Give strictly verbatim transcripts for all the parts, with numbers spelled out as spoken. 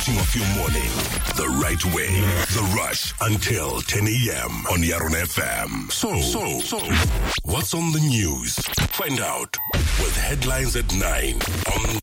Of your morning the right way. The Rush until ten a m on Yarona F M. So, so, so, what's on the news? Find out with headlines at nine on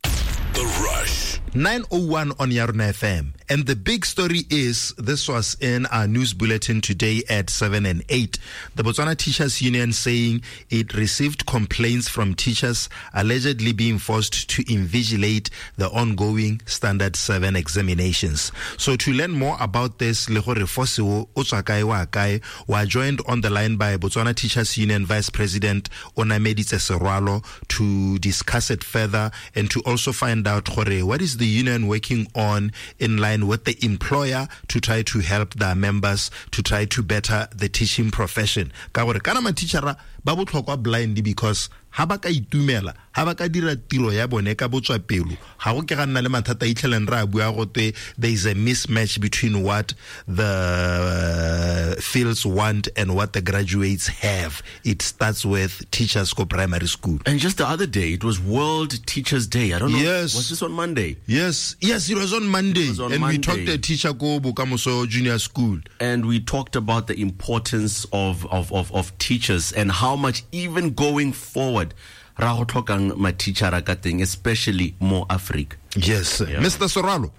The Rush. nine oh one on Yarona F M. And the big story is, this was in our news bulletin today at seven and eight. The Botswana Teachers Union saying it received complaints from teachers allegedly being forced to invigilate the ongoing Standard seven examinations. So to learn more about this, le gore force o o tswa kae wa kae, we are joined on the line by Botswana Teachers Union Vice President Onameditse Serwalo to discuss it further and to also find out gore what is the union working on in line with the employer to try to help their members to try to better the teaching profession. Ka gore kana ma-teachera ba botlhokwa blind, because ha ba ka itumela, ha ba ka dira tiro ya bone ka botswapelo, ga go ke ga nna le mathata a itlheleng re a bua gote there is a mismatch between what the fields want and what the graduates have. It starts with teachers go primary school. And just the other day, it was World Teachers' Day. I don't know. Yes. Was this on Monday? Yes, yes, it was on Monday. It was on And we Monday. Talked to a teacher ko Bokamoso Junior School. And we talked about the importance of, of, of, of teachers and how much, even going forward, ra go tlhokang mathichara ka teng, especially mo Africa. Yes. Yeah. Mister Soralo.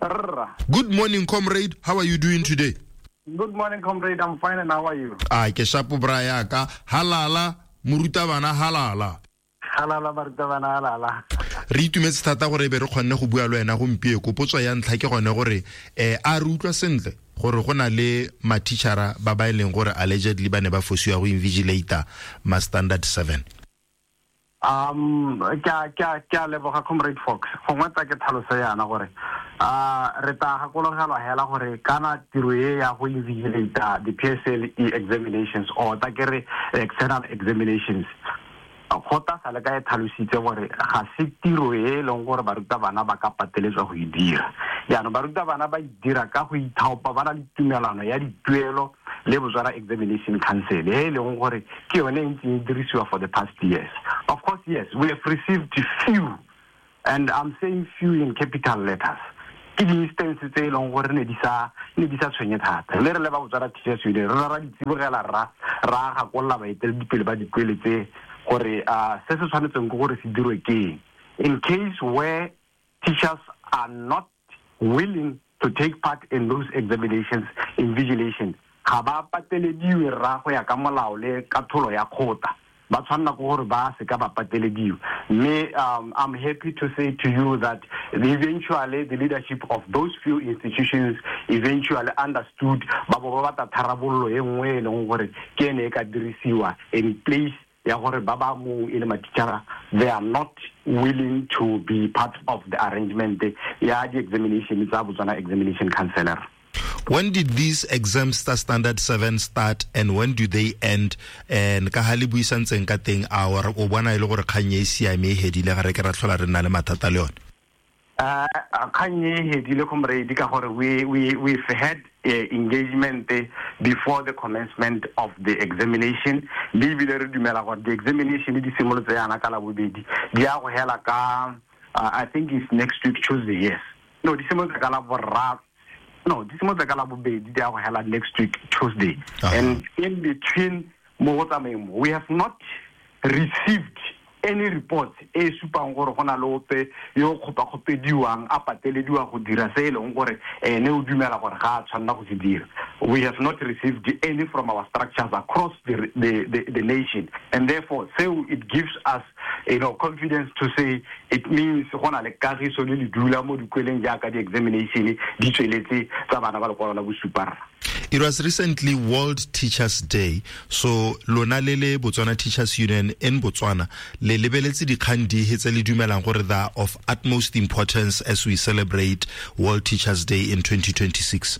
Rra. Good morning, comrade. How are you doing today? Good morning, comrade. I'm fine, and how are you? Ah, ke shapo bra ya ka. Halala, morutabana halala. Halala, barutabana halala. Re itumetse thata gore e be re kgonne go bua le wena gompieno. Potso ya ntlha ke gone gore eh a re utlwa sentle gore go na le mathichara ba ba e leng gore allegedly ba ne ba fosiwa go invigilata ma Standard seven? Um, ke a ke a ke a leboga, Comrade Fox. Gongwe tsa ke tlhaloso yana gore uh re tla gakologelwa hela gore kana tiro e ya go invigilata the P S L E examinations, or ta ke re external examinations, go ta sale ka e tlhalositse gore ga se tiro e e leng gore barutabana ba ka pateletswa go e dira. Jaanong barutabana ba e dira ka go ithaopa, ba na le tumelano ya dituelo le Botswana Examination Council, e e leng gore ke yone e ntseng e dirisiwa for the past years. Of course, yes, we have received few, and I'm saying few in capital letters, ke di-instance tse e leng gore ne di sa ne di sa tshwenye thata. Le re le ba Botswana Teachers Union re ra di tsibogela, ra ra gakolola baeteledipele ba dikwele tse gore uh, se se tshwanetseng ke gore se dirwe ke eng in case where teachers are not willing to take part in those examinations, invigilation ga ba patelediwe rra. Go ya ka molao le ka tholo ya kgota, ba tshwanela ke gore ba se ka ba patelediwa. Mme um, I'm happy to say to you that eventually the leadership of those few institutions eventually understood, ba bo ba batla tharabololo e nngwe e leng gore ke ene e ka dirisiwa in place ya gore ba ba mo e le mathichara they are not willing to be part of the arrangement ya di-examination tsa Botswana Examination Council. When did these exams start, Standard seven start, and when do they end? And ka ha le buisantseng ka teng, a o o bona e le gore kgang e siame, e hedile, ga re ke ra tlhola re nna le mathata le yone? uh kgang e hedile, comrade, ka gore we we we've had uh, engagement before the commencement of the examination, le ebile re dumela gore the examination di simolotse yana ka Labobedi, di ya go hela ka uh, I think it's next week Tuesday. Yes, no, di simolotse ka la boraro, no, di simolotse ka Labobedi, di ya go hela next week Tuesday. Uh-huh. And in between mo go tsamayeng mo, we have not received any report e supang gore go na le ope yo kgopakgopediwang a patelediwa go dira se e leng gore ene o dumela gore ga a tshwanela go se dira. We have not received any from our structures across the, the, the, the nation, and therefore seo it gives us you know confidence to say it means go na le kagiso le le dula mo dikweleng jaaka di-examination di tsweletse tsa bana ba lekwalo la bosupa. It was recently World Teachers' Day. So lona le le Botswana Teachers Union in Botswana, le lebeletse dikgang di tse le dumelang gore they are of utmost importance as we celebrate World Teachers' Day in twenty twenty-six?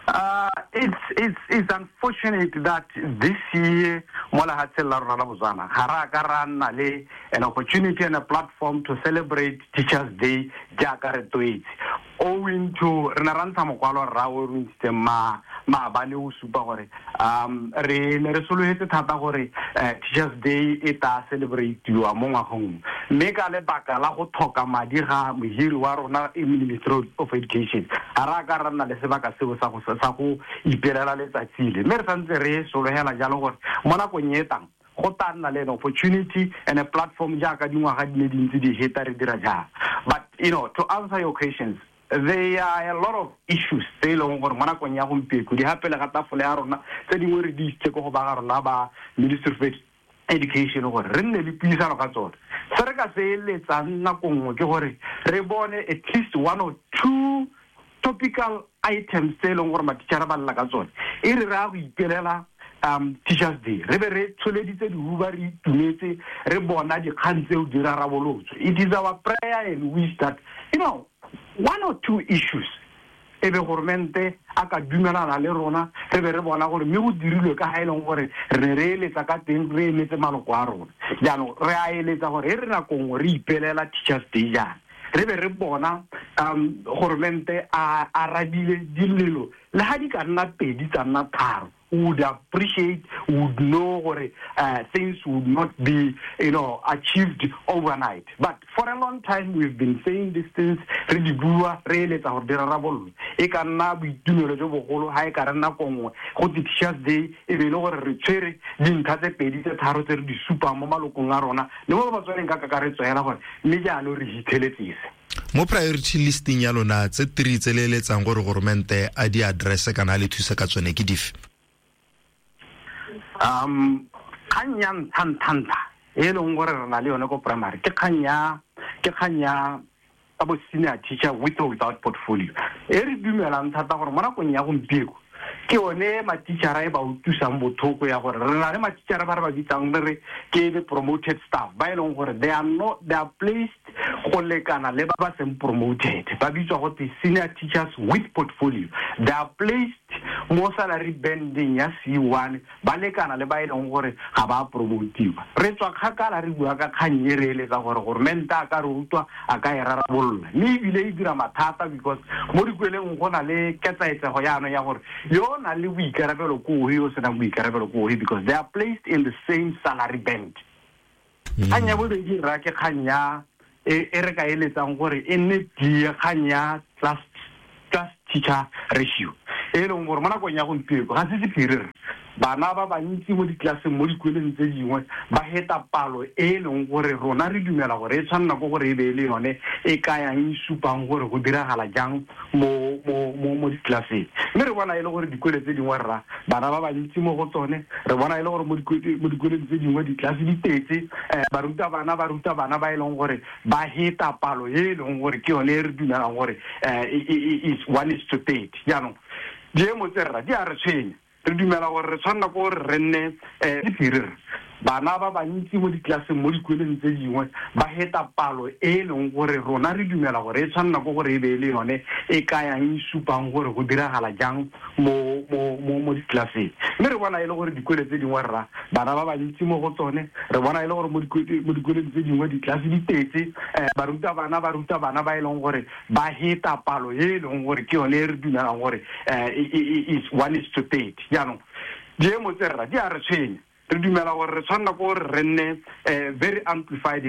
Uh, it's, it's, it's unfortunate that this year, mo lefatsheng la rona la Botswana, ga re a ka ra nna le an opportunity and a platform to celebrate Teachers' Day jaaka re tlwaetse. Owing to re ne ra ntsha mokwalo rra o re ntshitseng ma maabane o supa gore um re ne re sologetse thata gore Teachers Day e ta celebrate-iwa mo ngwageng, mme ka lebaka la go tlhoka madi ga mohiri wa rona Ministry of Education ga re a ka ra nna le sebaka seo sa go sa go ipelela letsatsi le, mme re santse re sologela jalo gore mo nakong e tang go tla nna le an opportunity and a platform jaaka dingwaga di ne dintsi di heta re dira jang. But you know, to answer your questions, there are a lot of issues tse e leng gore mo nakong ya gompieno di gapele ga tafole ya rona, tse dingwe re di isitse ko go ba ga rona ba Ministry of Education gore re nne le puisano ka tsone. Se re ka se eletsang nako nngwe ke gore re bone at least one or two topical items tse e leng gore matitšhara ba lla ka tsone, e re re a go ipelela um Teachers Day re be re tsholeditse dihuba, re itumetse, re bona dikgang tseo di rarabolotswe. It is our prayer and wish that, you know, one or two issues e be goromente a ka dumelana le rona, re be re bona gore mme go dirilwe ka ga e leng gore re ne re eletsa ka teng, re emetse maloko a rona. Jaanong re a eletsa gore e re nako nngwe re ipelela Teachers Day jaana, re be re bona um goromente a arabile dilelo le ga di ka nna pedi tsa nna tharo, would appreciate, would know gore uh, things would not be, you know, achieved overnight. But for a long time we've been saying these things, re di bua, re eletsa gore di rarabololwe. E ka nna boitumelo jo bogolo ha e ka re nako nngwe go Teachers Day e be e le gore re tshwere dintlha tse pedi tse tharo tse re di supang mo malokong a rona le mo ba tswaneng ka kakaretso hela gore mme jaanong re hitlheletsese. Mo priority listing ya lona tse three tse le eletsang gore goromente a di address kana a le thuse ka tsone ke dife? Um kgang ya ntlha-ntlha e leng gore re na le yone ko primary ke kgang ya ke kgang ya bo senior teacher with or without portfolio, e re dumelang thata gore mo nakong ya gompieno ke yone matitšhara e ba utlwisang botlhoko ya gore re na le matitšhara ba re ba bitsang re re ke the promoted staff ba e leng gore they are not, they are placed go lekana le ba ba seng promoted, ba bitswa go te senior teachers with portfolio. They are placed mo salary banding ya C one, ba lekana le ba e leng gore ga ba promotiwa. Re tswa kgakala re bua ka kgang e re eletsa gore goromente a ka re utlwa, a ka e rarabolola, mme ebile e dira mathata because mo dikweleng go na le ketsaetsego jaanong ya gore yo na le boikarabelo ko ohe, yo senang boikarabelo ko ohe, because they are placed in the same salary band. Kgang ya bobedi rra ke kgang ya e re ka eletsang gore e nne tie, kgang ya class class teacher ratio e leng gore mo nakong ya gompieno ga se sephiri re bana ba bantsi mo diklaseng mo dikoleng tse dingwe ba heta palo e leng gore rona re dumela gore e tshwanela ko gore e be e le yone e kayang e supang gore go diragala jang mo mo mo mo diklaseng. Mme re bona e le gore dikole tse dingwe rra bana ba bantsi mo go tsone, re bona e le gore mo dikoleng tse dingwe ditlase di tetse, baruta bana ba ruta bana ba e leng gore ba heta palo e leng gore ke yone e re dumelang gore is one is to thirty. Jaanong diemo tse rra di a re tshwenya, re dumela gore re tshwanela ko gore re nne sephiri re bana ba bantsi mo diklaseng mo dikoleng tse dingwe ba heta palo e leng gore rona re dumela gore e tshwanela ko gore e be e le yone e kayang e supang gore go diragala jang mo mo mo mo diklaseng. Mme re bona e le gore dikole tse dingwe rra bana ba bantsi mo go tsone, re bona e le gore mo dikoleng tse dingwe ditlase di tetse, baruta bana ba ruta bana ba e leng gore ba heta palo e leng gore ke yone e re dumelang gore is one is to thirty. Jaanong diemo tse rra di a re tshwenya, re dumela gore re tshwanela ko gore re nne very amplified.